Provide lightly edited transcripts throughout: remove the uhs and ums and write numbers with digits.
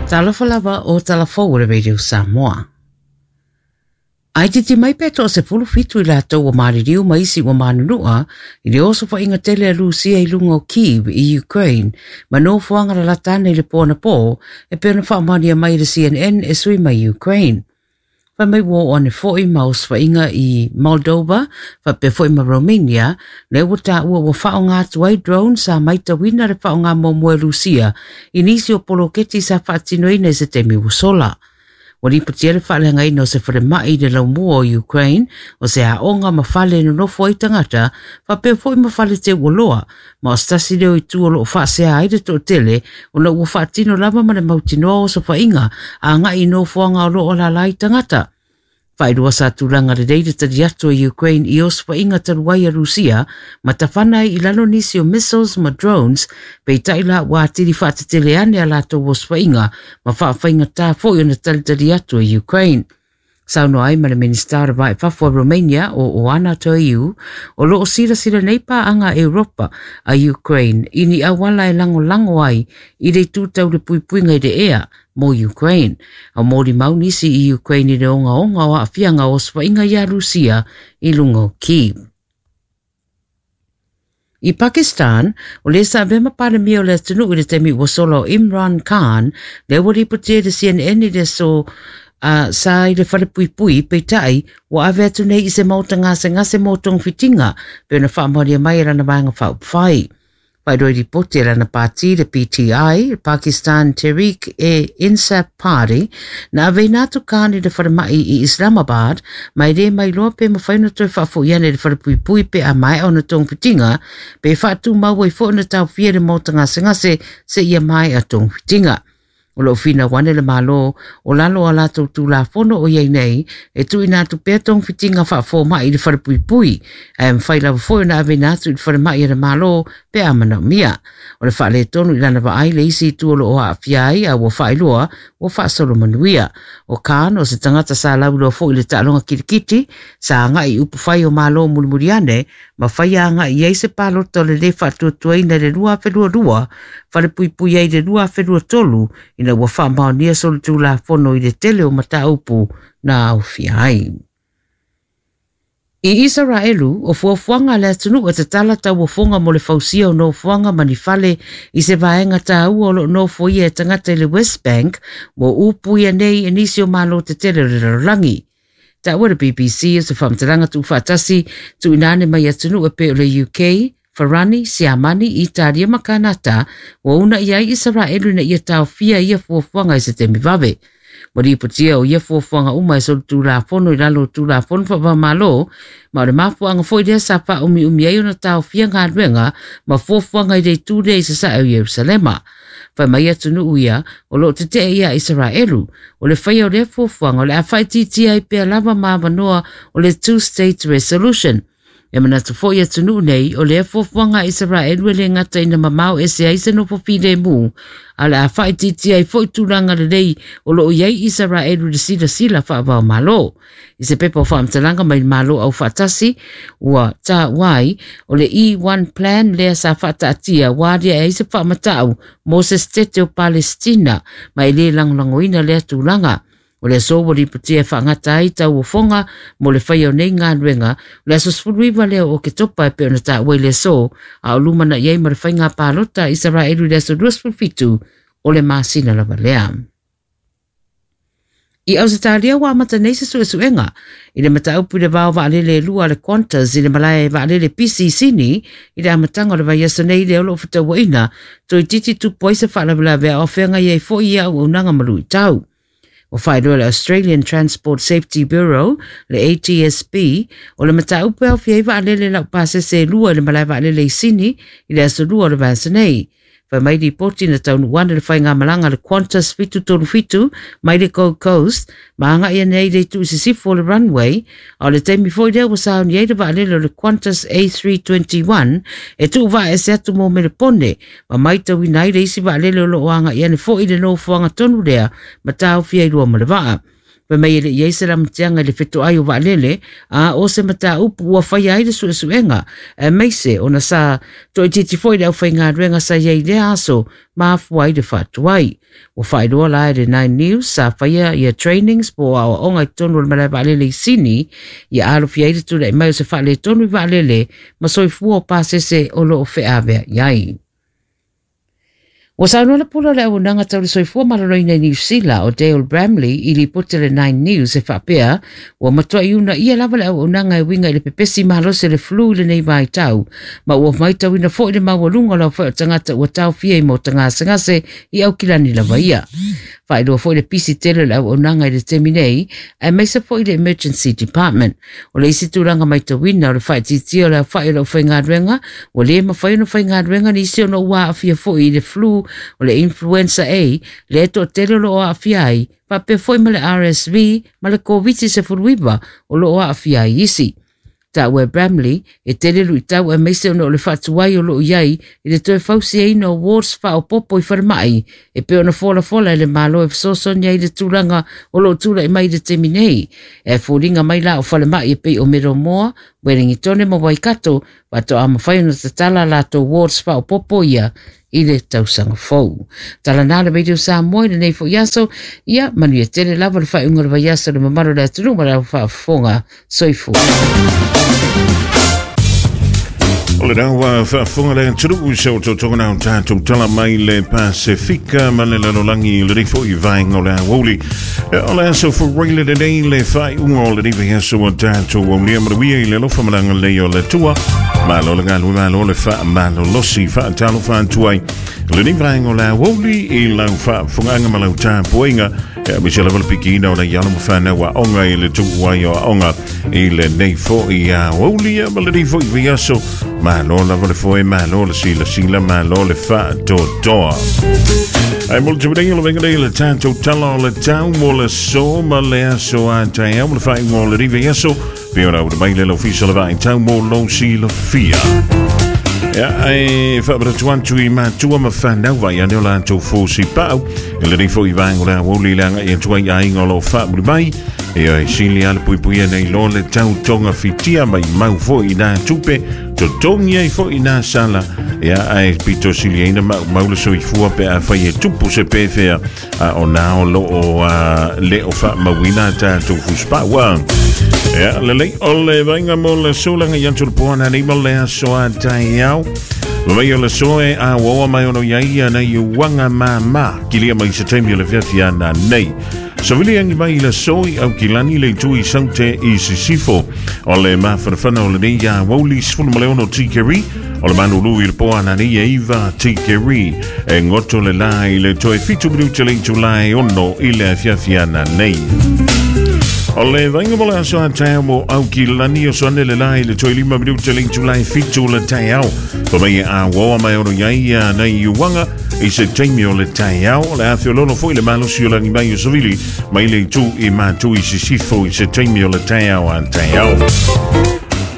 Talofa lava o talafou o le Radio Samoa. Ai titi mai pe to se fulu fitu i latou ua maliliu ma isi ua manunua i le osofaiga tele a Lusia i luga o Kyiv i Ukraine ma nofoaga lalata ane i le po anapo e pei ona faamaonia mai e le CNN e sui mai Ukraine. Fai mai ua oo ane foi ma osofaiga i Moldova faapea foi ma Romania lea ua taua ua faaaoga atu ai drone sa maitauina le faaaoga muamua e Lusia i nisi o poloketi sa faatinoina i se taimi ua sola. Ua lipotia le faaleagaina o se falemai i le laumua o Ukraine, o se aoga ma fale e nonofo ai tagata, faapea foi ma fale teuoloa, ma o se tasi lea o itu o lo o faasea ai le toatele ona ua faatino lava ma le mautinoa osofaiga agai i nofoaga o lo o alaala ai tagata. Faailoa sa tulaga lelei le tali atu a Ukraine i osofaiga talu ai a Rusia ma tafana ai i lalo nisi o missiles ma drones, peitai la ua atili faatetele ane a latou osofaiga ma faafaigata foi ona talitali atu e Ukraine. Saunoa ai ma le Minisita o le Va i Fafo a Romania o Oana Toiu, o lo o silasila nei paaga a Europa a Ukraine i ni auala e lagolago ai i le itu tau le puipuiga i le ea mo Ukraine. A molimau nisi i Ukraine i le ogaoga o aafiaga o osofaiga iā Rusia i luga o Kyiv. I Pakistan, o le sa avea ma Palemia o le atunuu i le taimi ua sola o Imran Khan, lea ua lipotia i le CNN i le aso a sa i le falepuipui, peitai, ua ave atu nei i se maota gasegase mo togafitiga, pei ona faamaonia mai e lana vaega faaupufai. Faailoa i lipoti a lana pāti, le PTI, Pakistan Tehreek-e-Insaf Party, na aveina atu Khan i le falemai i Islamabad, ma e le mailoa pe mafai ona toe faafoi ane i le falepuipui pe a maea ona togafitiga, pe faatumau ai foi ona taofia i le maota gasegase seia maea togafitiga. O lo o finau ane le Malo o lalo o a latou Tulafono o i ai nei e tuuina atu pea togafitiga faafomai i le falepuipui, ae mafai lava foi ona aveina atu i le falemai a le Malo pe a manaomia. O le faaletonu i lana vaai le isi itu o lo o aafia ai a ua faailoa ua faasolo manuia. O Khan, o se tagata sa lauiloa foi i le taaloga kilikiti, sa agai i upufai o Malo mulimuli ane ma faia agai i ai se palota o le lē faatuatuaina i le 2022, falepuipui ai i le 2023 ina ua faamaonia solitulafono i le tele o mataupu na aofia ai. I Isaraelu, o fuafuaga a le atunuu e tatala tauofoga mo le fausia o nofoaga ma ni fale i se vaega taua o lo o nofoia e tagata i le West Bank ua upuia nei e nisi o malo tetele o le lalolagi. Taua le BBC o se faamatalaga tuufaatasi tuuina ane mai atunuu e pei o le UK, Farani, Siamani, Italia ma Kanata ua uunai ai Isaraelu ina ia taofia ia fuafuaga i se taimi vave. Ua lipotia o ia fuafuaga uma e solitulafono i lalo o Tulafono Faava-o-Malo, ma o le mafuaaga foi lea sa faaumiumi ai ona taofia galuega ma fuafuaga i le itu lea i sasae o Ierusalema. Fai mai atunuu ia o lo o tetee iā Isaraelu, o le faia o lea fuafuaga o le a faaitiitia ai pea lava ma avanoa o le Two State Resolution. E manatu foi atunuu nei, o lea fuafuaga a Isaraelu e le gata ina mamao ese ai se nofo filemu, a o le a faaitiitia ai foi tulaga lelei o lo o i ai Isaraelu i le silasila faava-o-Malo. I se pepa o faamatalaga mai le Malo Aufaatasi, ua taua ai, o le E1 Plan lea sa faataatia ua aliae ai se faamatau mo se setete o Palesitina, ma e le lagolagoina lea tulaga. O le aso ua lipotia e faagata ai tauofoga mo le faia o nei galuega, o le aso 19 lea o Oketopa e pei ona taua i le aso, a o lumanai ai ma le faiga palota a Isaraelu i le aso 27 o le masina lava lea. I Ausetalia ua amata nei se suesuega i le mataupu i le vao vaalele e lua a le Qantas i le malae vaalele pisi i Sini i le amataga o le vaiaso nei lea o lo o fetauaina toeitiiti tupu ai se faalavelave a o feagai ai foi ia auaunaga ma luitau. Ua faailoa e le Australian Transport Safety Bureau, le ATSB, o le mataupu e aofia ai vaalele laupasese e lua i le malae vaalele i Sini i le aso Lua o le vaiaso nei. Fai mai lipoti na taunuu ane le faigamalaga a le Qantas 737 mai le Gold Coast ma agai ane ai i le itu i sisifo o le runway, a o le taimi foi lea ua sauni ai le vaalele o le Qantas A321 e tuuvaaese atu mo Melepone ma maitauina ai le isi vaalele o lo o agai ane foi i le nofoaga tonu lea ma taofia i lua ma le vaa. Fai mai e le i ai se lamatiaga i le fetoai o vaalele, a o se mataupu ua faia ai le suesuega, aemaise ona sa toaitiiti foi le aufaigaluega sa i ai i lea aso ma afua ai le faatuai. Ua faailoa la e le Nine News sa faia ia trainings po o aoaoga i totonu o le malae vaalele i Sini ia alofia ai le tulai mai o se faaletonu i vaalele ma soifua o pasese o lo o feaveai ai. Ua saunoa le pule o le auaunaga tau le soifua maloloina i Niu Sila o Dale Bramley i lipoti a le Nine News e faapea ua matuai uunaia lava le auaunaga e uiga i le pepesi malosi o le flu i lenei vaitau ma ua matauina foi le maualuga o le aofai o tagata ua taofia i maota gasegase i Aukilani lava ia. Faailoa foi le pisi tele o le auaunaga i le taimi nei, aemaise foi le Emergency Department. O le isi tulaga matauina o le faaitiitia o le aofai o le aufaigaluega, ua le mafai ona faigaluega nisi ona ua aafia foi i le flu o le influenza A, lea e toatele o lo o aafia ai, faapea foi ma le RSV ma le Koviti-19 o lo o aafia ai isi. Taua e Bramley, e tele luitau aemaise ona o le faatuai o lo o i ai i le toe fausiaina o wards faaopoopo i falemai e pei ona folafola e le Malo e fesoasoani ai i le tulaga o lo o tulai mai i le taimi nei. E foliga mai la o falemai e pei o Middlemore, Wellingitone ma Waikato faatoa mafai ona tatala a latou wards faaopoopo ia i le tausaga fou. Tala na le Radio Samoa i lenei foi aso, ia manuia tele lava le faaiuga o le vaiaso i le mamalu o le atunuu ma le faafofoga. Soifua. O le rawa faafofoga le atunuu se o totoga na o tatou tala mai le Pasefika ma le lalolagi i lenei foi vaega o le aoauli. O le aso Faraile lenei le faaiuga o lenei vaiaso ua tatou aulia manuia i le alofa ma le agalelei o le Atua. Malo le galue, malo le faamalolosi, faatalofa atu ai lenei vaega o le aoauli i lau faafofogaaga ma lau tapuaiga. E aemaise lava le pikiina o nei alo ma fanau aoga i le tuu ai o aoga i lenei foi aoauli ma lenei foi vaiaso. Malo lava le foe, malo le silasila, malo le faatoatoa. Ai mo le taimi nei o le vaega nei le tatou tala o le tau mo le aso ma le aso a taeao ma le faaiuga o lenei vaiaso. Pei ona auina mai le Ofisa o le Vaai Tau mo lou silafia. Ia, e faamanatu atu i matua ma fanau vai ane o latou fosi pau. E lenei foi vaega o le aoauli le agai atu ai aiga o lo o faamuli mai. Ia, e sili lava le puipuia nei lo le tau togafitia mai mau foi i nā tupe, totogi ai foi i nā sala. Ia, ae pito sili ai na maumau le soifua pe afai e tupu se pefea a o nā o lo o le o faamauina a tatou fusipau a. Ia, lelei o le vaaiga mo le sulaga i atu le poana nei ma le aso a taeao. Vai o le soe a uaua mai ono ia ia nei uanga māmā kilia mai se taimi o le fiafia na nei. Savili angi mai le soi au kilani le itu i saute i sisifo. O le mafanafana o lenei ia wauli 16 tikeri. O le manulu i le poana nei e iva tikeri. E ngoto le la i le toe 7 minuti le itu lai ono i le afiafi ana nei. O le vaaiga mo le aso a taeao mo Aukilani o soane le la i le toe 5 minuti le itu lai 7 le taeao. Fa mai e aoa mai ono iai ia nei uanga i se taimi o le taeao. O le afeololo foi le malosi o langi mai o savili mai le itu i mātu i sisifo i se taimi o le taeao a taeao.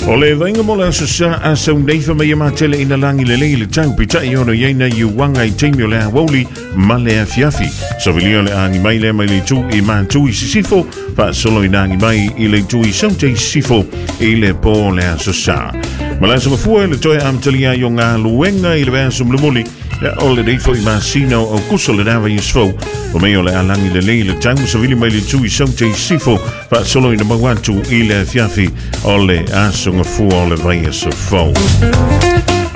O le vaaiga mo le aso sa a sau nei fa mai e matele ina langi lelei le tau pita'i ono iai nei uanga i taimi o le aoauli ma le afiafi. Savilia le agi mai lea mai le itu i mātu i sisifo, faasolo ina agi mai i le itu i saute i sisifo i le pō le aso sa. Ma le aso mafua i le toe amatalia ai o galuega i le vaiaso mulimuli, Ia, o lenei foi masina o Aukuso le na vaiaso fou. O mei o le alangi lelei le tau savili mai le itu i saute i sisifo, faasolo ina mau atu i le afiafi o le aso gafua o le vaiaso fou.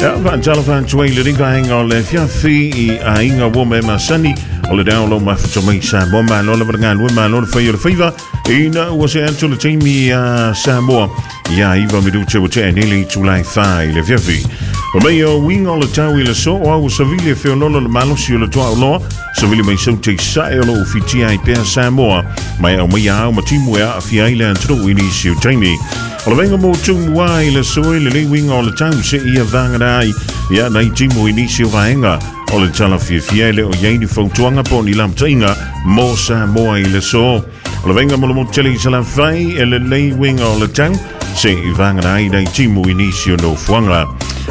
Ia, faatalofa atu ai lenei vaega o le afiafi i aiga ua me masani o le dao lo mafuta mai Samoa malo lava le galue malo le fai o le faiva ina ua se atu le taimi a Samoa ia iva minute ua tea nei le itulai fa i le afiafi. O mei o uiga o le tau i le so o au savili e feololo le malosi o le toa uloa savili mai sau te sae o lo ufitia ai pea Samoa mai au mai au ma timu e aafia ai le atunuu i nisi o taimi. O le vaaiga mo tumua i le soe le lei uiga o le tau se ia vagana ai ia nai timu i nisi o vaega o le tala fiafia e le o iai ni fautuaga po o ni lamataʻiga mo Samoa i le so. O le vaaiga mo le motu tele i Salafai e lelei uiga o le tau se i vagana ai nai timu i nisi o nofoaga.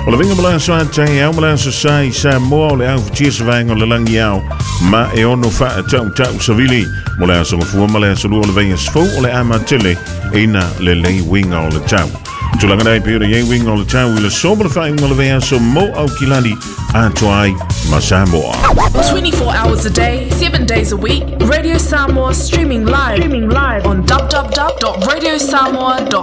O le vinga mo le aso a taeao ma le aso sa i Samoa o le au futia se vaega o le lagi ao ma e ono faatautau savili. Mo le aso gafua ma le aso lua o le vaiaso fou o le a matele ina lelei uiga o le tau. Tulaga nei pei ona i ai uiga o le tau i le aso ma le faaiuga o le vaiaso mo Aukilani atoa ai ma Samoa. 24 hours a day, 7 days a week, Radio Samoa streaming live, on www.radiosamoa.com.